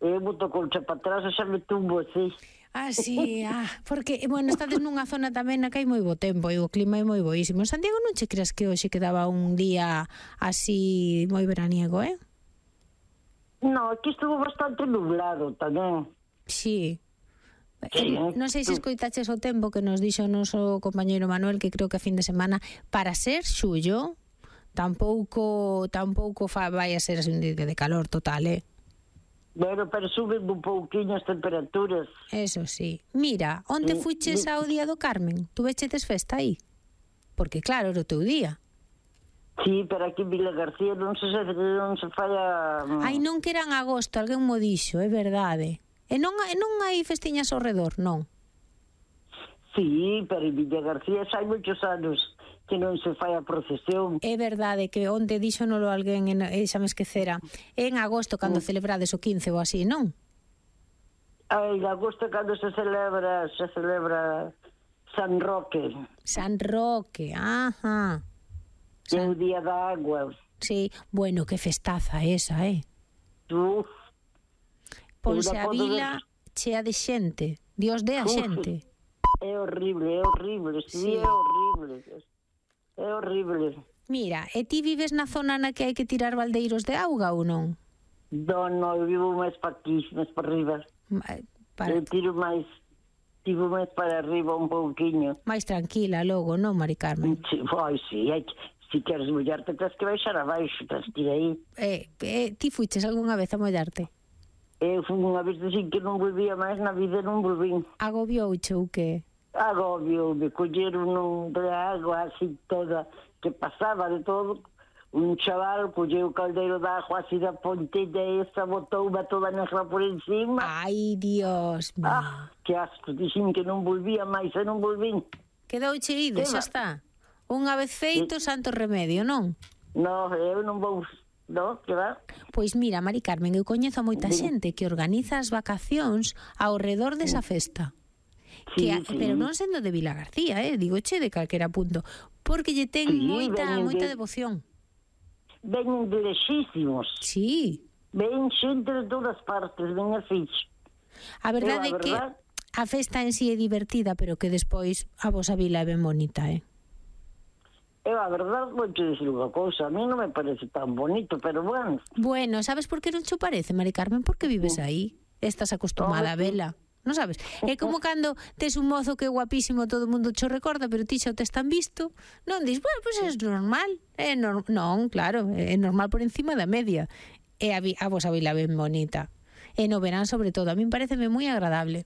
Eu boto colcha para atrás e xa me tumbo así. Sí, porque, bueno, estades nunha zona tamén na que hai moi bo tempo e o clima é moi boísimo. En Santiago non che creas que hoxe quedaba un día así moi veraniego, No, aquí estuvo bastante nublado tamén. Sí. Non sei se escoitaches o tempo que nos dixo o noso compañeiro Manuel, que creo que a fin de semana, para ser xullo, tampouco vai a ser así un día de calor total, Bueno, pero suben un pouquiño as temperaturas. Eso sí. Mira, onde fuches ao Día do Carmen? Tu vechetes festa aí? Porque claro, era o teu día. Sí, pero aquí en Vila García non se fai a... Ai, non que era en agosto, alguén mo dixo, é verdade. E non hai festiñas ao redor, non? Sí, pero en Vila García xa hai moitos anos que non se fai a procesión. É verdade que onde díxonolo alguén, xa me esquecera, é en agosto cando celebrades o 15 ou así, non? En agosto cando se celebra San Roque. San Roque, ajá. É o Día da Agua. Sí, bueno, que festaza esa, Uf. Ponse a vila chea de xente, Dios dé a xente. É horrible, sí, é horrible. É horrible. Mira, e ti vives na zona na que hai que tirar baldeiros de auga ou non? Non, eu vivo máis para aquí, máis para arriba. Eu tiro máis para arriba un pouquiño. Mais tranquila logo, non, Mari Carmen? Sí, se queres mollarte, tens que baixar abaixo, tens que ir aí. Ti fuiches algunha vez a mollarte? Eu fui unha vez dicir que non volvía máis na vida, non volvín. Agobiouche ou que? Agobioume, colleron de agua así toda, que pasaba de todo. Un chaval colleu o caldeiro de agua así da pontilla esa, botou toda negra por encima. Ai, Dios mío. Que asco, dixen que non volvía máis e non volvín. Quedouche ido, xa está. Unha vez feito, santo remedio, non? No, eu non vou... No, que va? Pois mira, Mari Carmen, eu coñezo a moita xente que organiza as vacacións ao redor desa festa. Sí. Pero non sendo de Vila García, digoche de calquera punto, porque lle ten moita devoción. Veñen de lexísimos. Sí. Ven xente de todas partes, ven así. A verdade é que a festa en sí é divertida, pero que despois a vosa vila é ben bonita, A verdade, vou te dicir unha cousa, a mí non me parece tan bonito, pero bueno. Bueno, sabes por que non che parece, Mari Carmen? Porque vives aí, estás acostumada a vela. Non sabes? É como cando tes un mozo que é guapísimo, todo o mundo cho recorda, pero ti xa o tes tan visto, non dis, bueno, pois é normal. Non, claro, é normal por encima da media. E a vosa vila ben bonita. E no verán, sobre todo, a min pareceme moi agradable.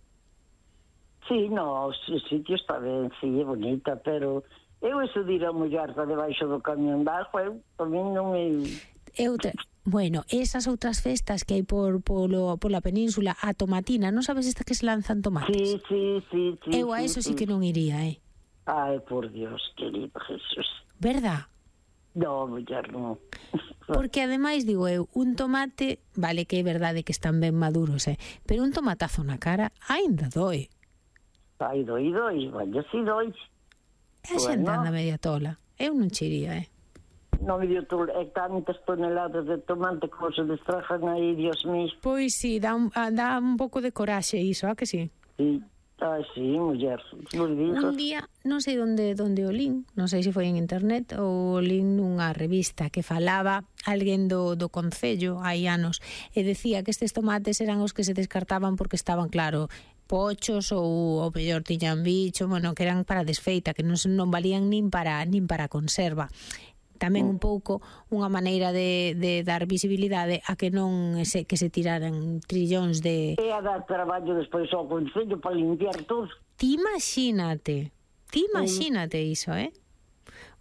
Sí, no, o sitio está ben, sí, é bonita, pero eu eso de ir a mollarta debaixo do camión de agua, tamén non me... Bueno, esas outras festas que hai pola península, a tomatina, non sabes esta que se lanzan tomates? Sí. Eu a eso sí que non iría, Ai, por Dios, querido Jesús. Verdad? No, mullar, non. Porque ademais, digo eu, un tomate, vale que é verdade que están ben maduros, pero un tomatazo na cara ainda doe. Ai, doi, vaya, si doi. E a xente anda media tola. Eu non che iría, Non me dio tantas toneladas de tomate como se destrajan aí, Dios mío. Pois sí, dá un pouco de coraxe iso, que sí? Sí, sí, muller. Un día, non sei onde o lin, non sei se foi en internet ou lin nunha revista que falaba alguén do concello hai anos e decía que estes tomates eran os que se descartaban porque estaban, claro, pochos ou o mellor tiñan bicho, bueno, que eran para desfeita, que non valían nin para conserva. Tamén un pouco unha maneira de dar visibilidade a que non se tiraran trillóns de... E a dar traballo despois ao concello para limpiar todo. Ti imagínate iso,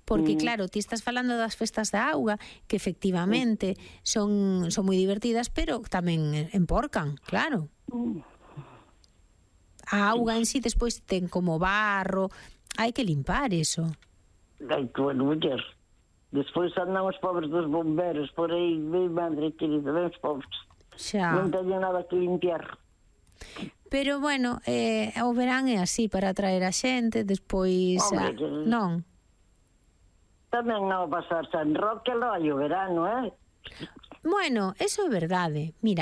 Porque claro, ti estás falando das festas da auga que efectivamente son moi divertidas, pero tamén emporcan, claro. A auga en sí despois ten como barro, hai que limpar eso. Ai, que bueno, muller. Despois andan os pobres dos bomberos por aí, bem madre querida, bem os pobres. Xa. Non teñen nada que limpiar. Pero bueno, o verán é así para atraer a xente, despois... non? Tamén non pasar San Roque, lo hai o verano, Bueno, eso é verdade. Mira,